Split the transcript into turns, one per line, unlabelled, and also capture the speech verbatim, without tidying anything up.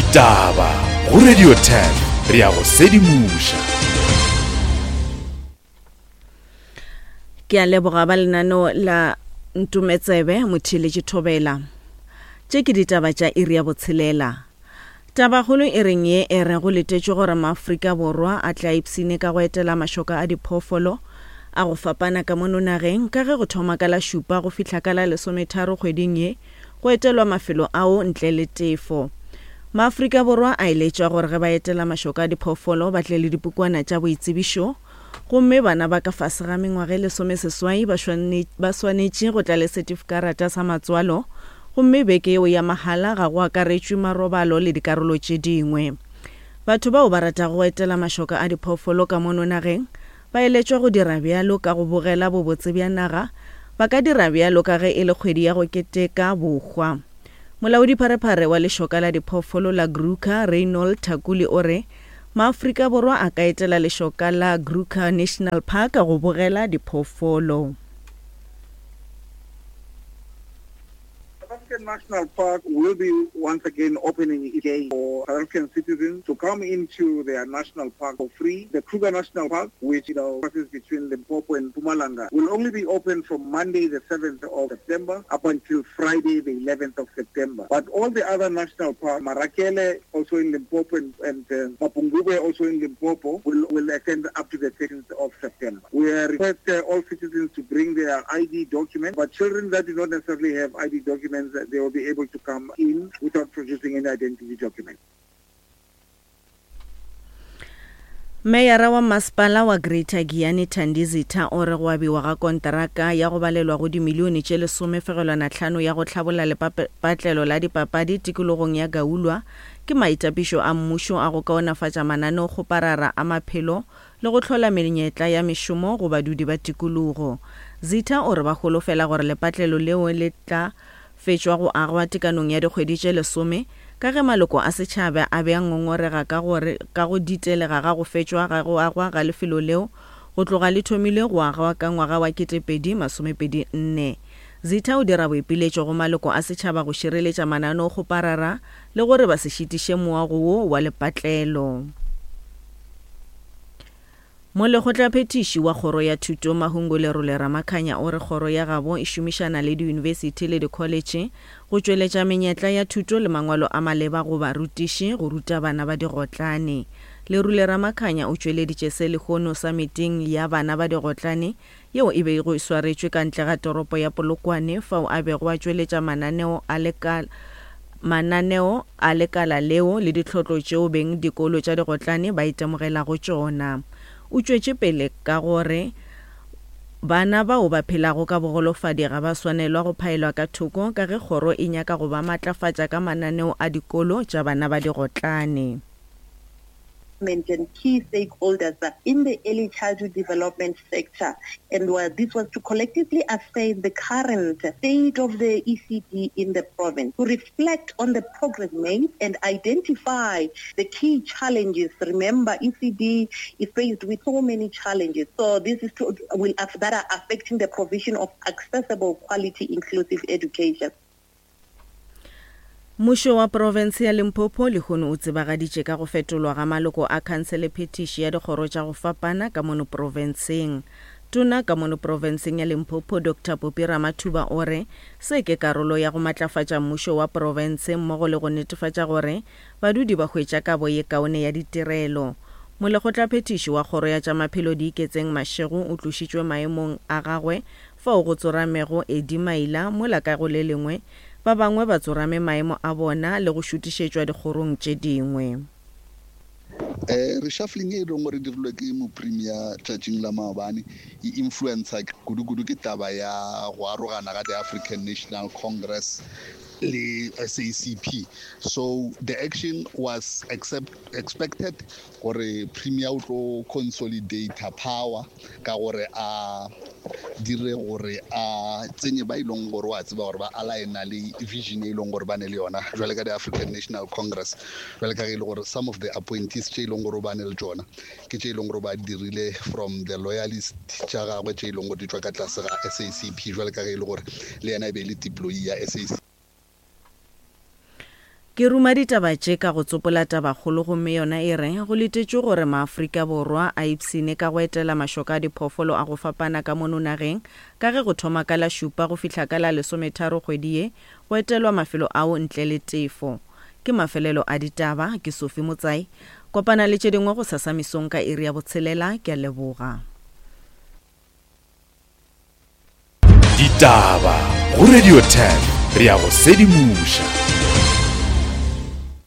Ditaba go Radio ten re ya go sedimoša.
Ke a leboga ba lenaneo la Ntumetsebe Motheeletši Thobela. Tše ke ditaba tša iri ya botshelela. Tabakgolo e reng ye e re go letetšwe gore Maafrika Borwa a tle a ipshine ka go etela mašoka a diphoofolo a go fapana ka mono nageng ka ge go thoma ka la šupa go fihla ka la lesometharo kgweding ye go etelwa mafelo ao ntle le tefo. Maafrika Borwa a eletšwa gore ge ba etela mašoka a diphoofolo ba tle le dipukwana tša boitsebišo gomme bana ba ka fase ga mengwaga e lesomeseswai ba swanetše go tla le setifikarata sa matswalo gomme beke yeo ya mahala ga go akaretšwe marobalo le dikarolo tše dingwe. Batho bao ba ratago go etela mašoka a diphoofolo ka mono nageng ba eletšwa go dira bjalo ka go bogela bobotse bja naga, ba ka dira bjalo ka ge e le kgwedi ya go keteka bohwa. Molaodipharephare wa lešoka la diphoofolo la Kruger, Reynold Thakuli o re Maafrika Borwa a ka etela lešoka la Kruger National Park go bogela diphoofolo.
South African National Park will be once again opening its gate for South African citizens to come into their national park for free. The Kruger National Park, which you know crosses between Limpopo and Mpumalanga, will only be open from Monday the seventh of September up until Friday the eleventh of September. But all the other national parks, Marakele also in Limpopo and, and uh, Mapungubwe also in Limpopo, will, will extend up to the thirteenth of September. We request uh, all citizens to bring their I D document, but children that do not necessarily have I D documents, they will be able to come in without producing any identity document.
Meyara wa masepala wa Greater Giyani Thandi Zitha o re go abiwa ga konteraka ya go balelwa go dimilione tše lesomefegelwana tlhano ya go hlabolla lepatlelo la dipapadi tikologong ya Gaulwa ke maitapišo a mmušo a go kaonafatša mananeokgoparara a maphelo le go hlola menyetla ya mešomo go badudi ba tikologo. Zitha o re ba holofela gore lepatlelo leo le tla fetšwa go agwa tekanong ya dikgwedi tše lesome ka ge maloko a setšhaba a be a ngongorega ka gore ka go ditelega ga go fetšwa ga go agwa ga lefelo leo go tloga le thomile go agwa ka ngwaga wa ketepedi masomepedi nne. Zitha o dira boipiletšo go maloko a setšhaba go šireletša mananeokgoparara le gore ba se šitiše moago wo wa lepatlelo. Molekgotlaphethiši wa kgoro ya thuto Mahungu Lerole Ramakhanya o re kgoro ya gabo e šomišana le diyunibesithi le dikholetše go tšweletša menyetla ya thuto le mangwalo a maleba go barutiši go ruta bana ba digotlane. Lerole Ramakhanya o tšweleditše se lehono samiting ya bana ba digotlane yeo e bego e swaretšwe ka ntle ga toropo ya Polokwane fao a bego a tšweletša mananeo a lekala mananeo a lekala leo le ditlhotlo tšeo beng dikolo tša digotlane ba itemogelago tšona. O tšwetše pele ka gore bana bao ba phelago ka bogolofadi ga ba swanelwa go phaelwa ka thoko ka ge kgoro e nyaka go ba matlafatša ka mananeo a dikolo tša bana ba digotlane.
And key stakeholders in the early childhood development sector, and this was to collectively assess the current state of the E C D in the province, to reflect on the progress made and identify the key challenges. Remember, E C D is faced with so many challenges, so this is to, will that are affecting the provision of accessible, quality, inclusive education.
Mmušo wa profense ya Limpopo lehono o tsebagaditše ka go fetolwa ga maloko a khansele phetiši ya dikgoro tša go fapana ka mono profenseng. Tona ka mono profenseng ya Limpopo Doctor Popi Ramathuba o re se ke karolo ya go matlafatša mmušo wa profense mmogo le go netefatša gore badudi ba hwetša kabo ye kaone ya ditirelo. Molekgotlaphethiši wa kgoro ya tša maphelo Diiketseng Mashego o tlošitšwe maemong a gagwe fao go tsoramego Eddie Maila mola ka go le lengwe ba bangwe ba tsorame maemo a bona le go šutišetšwa dikgorong tše dingwe.
Eh reshuffling e leng gore dirilwe ke mopremier tšatšing la maobane e influencer kudu-kudu ke taba ya go arogana ga the African National Congress le S A C P. So the action was accept, expected gore premier o tlo consolidate power ka gore a dire gore a tsenye ba ileng gore wa tseba gore ba aligna le vision e leng gore ba ne le yona jwale ka the African National Congress, jwale ka ge e le gore some of the appointees tše e leng gore ba ne le tšona ke tše e leng gore ba dirile from the loyalist tša gagwe tše e leng gore di tšwa ka tlase ga S A C P, jwale ka ge e le gore le yena e be e le deployee ya S A C P.
Ke ruma ditaba tše ka go tsopola tabakgolo gomme yona e re go letetšwe gore maAfrika Borwa a ipshine ka go etela mašoka a diphoofolo a go fapana ka mono nageng ka ge go thoma ka la šupa go fihla ka la lesometharo kgwedi ye go etelwa mafelo ao ntle le tefo. Ke mafelelo a ditaba, ke Sophie Motsai. Kopana le tše dingwe gosasa mesong ka iri ya botshelela, ke a leboga.
Ditaba go Radio ten, re a go sedimoša.